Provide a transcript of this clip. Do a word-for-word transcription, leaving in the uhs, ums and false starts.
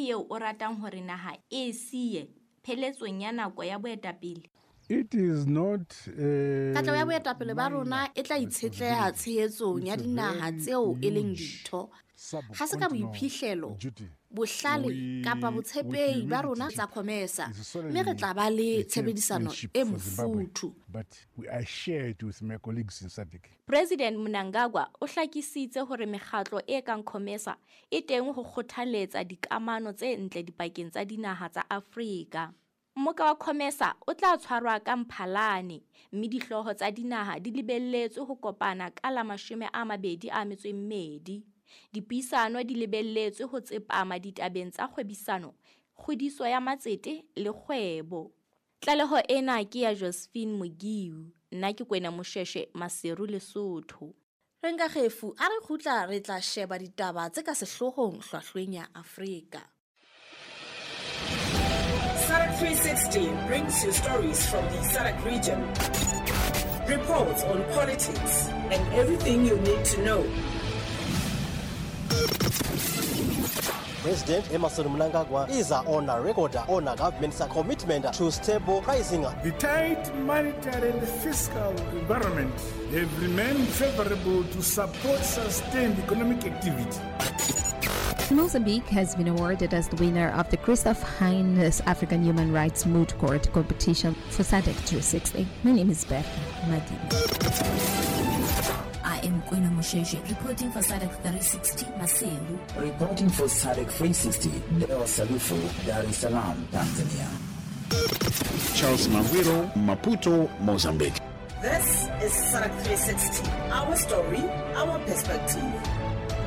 eo o ratang hore naha e e siye pheletsong ya nako ya boetapele? It is not a Katleho ya boetapele ba rona e tla itshetleha tshehetsong ya dinaha tseo e leng ditho. Ha se ka boiphihlelo, bohlale kapa botshepehi ba rona tsa COMESA, mme re tla ba le tshebedisano e mofuthu. But we are shared with my colleagues in SADC. President Mnangagwa o hlakisitse hore mekgatlo e kang COMESA e teng ho kgothaletsa dikamano tse ntle dipakeng tsa dinaha tsa Afrika. Mmoka wa COMESA o tla tshwarwa ka Mphalane, mme dihlooho tsa dinaha di lebelletswe ho kopana ka la mashome a mabedi a metso e mmedi. Dipuisano di lebelletswe ho tsepama ditabeng tsa kgwebisano, kgodiso ya matsete le kgwebo. Tlaleho ena ke ya Josephine Mogiu, nna ke Kwena Mosheshe, Maseru, Lesotho. Re nka kgefu, a re kgutla re tla sheba ditaba tse ka sehloohong hlwahlweng ya Afrika. SADC three sixty brings you stories from the SADC region, reports on politics and everything you need to know. President Emmerson Mnangagwa is on a record on a government's commitment to stable pricing. The tight monetary and fiscal environment have remained favorable to support sustained economic activity. Mozambique has been awarded as the winner of the Christoph Heinz African Human Rights Moot Court competition for SADC three sixty. My name is Bertha Madini. I am Kwena Mosheshe, reporting for SADC three sixty, Maseru. Reporting for SADC three sixty, Deo Salufu, Dar es Salaam, Tanzania. Charles Mawiro, Maputo, Mozambique. This is SADC three sixty, our story, our perspective.